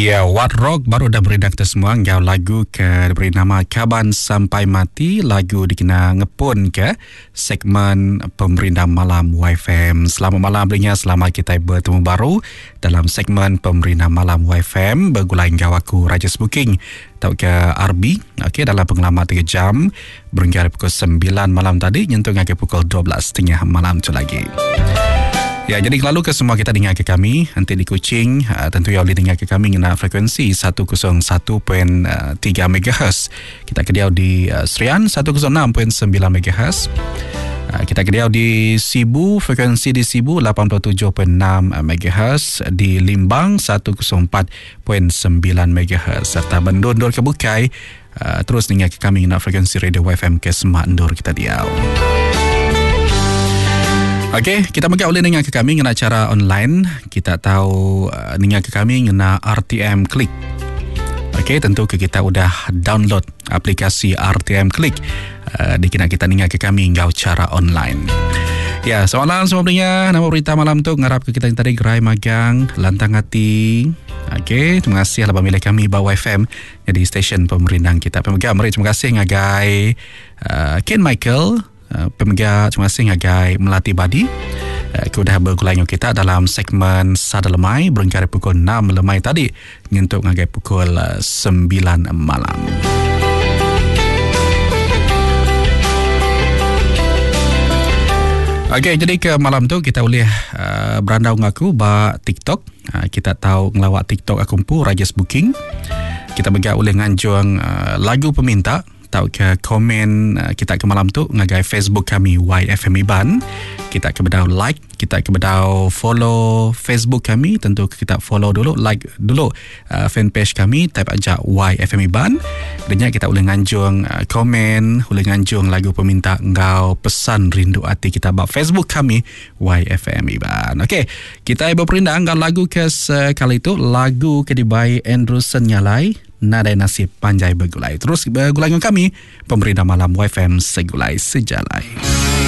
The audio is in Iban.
Ya, What Rock baru udah berindang kita semua enggau lagu ke diberi nama Kaban Sampai Mati, lagu dikena ngepun ke segmen Pemerindang Malam YFM. Selamat malam belinya, selamat kita bertemu baru dalam segmen Pemerindang Malam YFM begulai enggau aku Rajes Booking tauka RB. Okey, dalam pengelama 3 jam berengkah dari pukul 9 malam tadi nyentuk ngagai pukul 12.30 malam tu lagi. Ya, jadi lalu ke semua kita dengar ke kami nanti di Kuching tentu ya boleh dengar ke kami ngena frekuensi 101.3 MHz. Kita ke diau di Serian 106.9 MHz. Kita ke diau di Sibu, frekuensi di Sibu 87.6 MHz, di Limbang 104.9 MHz serta bendur-endur ke bukai terus ninga ke kami ngena frekuensi radio YFM ke semak endur kita diau. Okey, kita mega boleh ninga ke kami ngena cara online. Kita tahu ninga ke kami ngena RTM Click. Okey, tentu ke kita udah download aplikasi RTM Click dikena kita ninga ke kami enggau cara online. Ya, selamat malam semua pendengar. Nama berita malam tu ngarap ke kita yang tadi gerai magang, lantang hati. Okey, terima kasih lah milih kami ba YFM nyadi stesen pemerindang kita. Pemega meri terima kasih ngagai uh, Ken Michael, uh, pemega terima kasih ngagai Melati Badi uh, ke udah begulai dengan kita dalam segmen Sada Lemai berengkah dari pukul 6 lemai tadi nyentuk ngagai pukul 9 malam. Okey, jadi ke malam tu kita boleh uh, berandau dengan aku ba TikTok. Ha, kita tahu ngelawak TikTok aku empu Rajes Booking. Kita mega ulih nganjung uh, lagu peminta tau ke komen uh, kita ke malam tu ngagai Facebook kami YFM Iban. Kita ke bedau like, kita ke bedau follow Facebook kami, tentu kita follow dulu, like dulu uh, fanpage kami, type aja YFM Iban. Dan kita boleh nganjung uh, komen, boleh nganjung lagu peminta enggau pesan rindu hati kita ba Facebook kami YFM Iban. Okey, kita berperindang enggau lagu ke sekali tu, lagu ke dibai Andrew Senyalai, Nadai Nasib Panjai Begulai. Terus begulai dengan kami, Pemerintah Malam YFM Segulai Sejalai.